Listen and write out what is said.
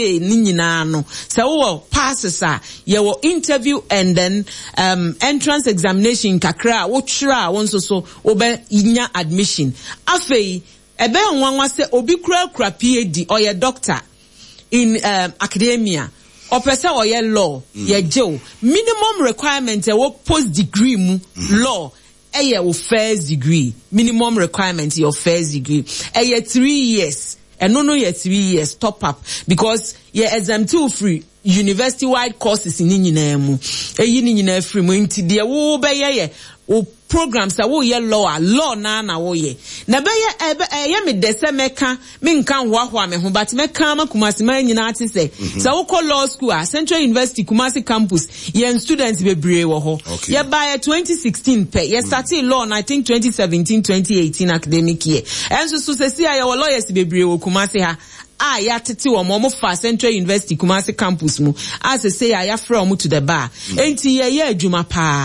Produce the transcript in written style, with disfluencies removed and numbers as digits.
year ne nyinaa no, sɛ wowɔ passes a, yɛwɔ interview and then um, entrance examination kakra a wotwerɛ a wo nso so wobɛnya admission. Afei, ɛbɛyɛ nwanwa sɛ obi kura kura PhD, ɔyɛ doctor in um, academia, ɔpɛ sɛ ɔyɛ law, yɛgye wo. Minimum requirement ɛwɔ post degree mu law ɛyɛ wo first degree. Minimum requirement yɛ wo first degree. Ɛyɛ 3 years. Ɛno no yɛ 3 years top up because yɛ exempt wo firi university wide courses ne nyinaa mu. Eyi ne nyinaa firi mu, nti deɛ wo bɛyɛ yɛ wo program, sɛ woyɛ law a, law naa na woyɛ na ɛbɛyɛ ɛbɛ ɛyɛ me dɛ sɛ mɛka menka nhoahoa me ho, but mɛka ama Kumasi man nyinaa te sɛ wokɔ law school a, Central University Kumasi Campus, yɛn students bebree wɔ hɔ. Yɛbaayɛ 2016 pɛ, yɛ started law no, I think 2017 2018 academic year. Ɛnso so sɛsi a yɛwɔ lawyers bebree wɔ Kumasi ha a yɛatete wɔn, wɔn fa Central University Kumasi Campus mu a sɛsɛ a yɛafrɛ wɔn to the bar. Enti yɛyɛ adwuma paa.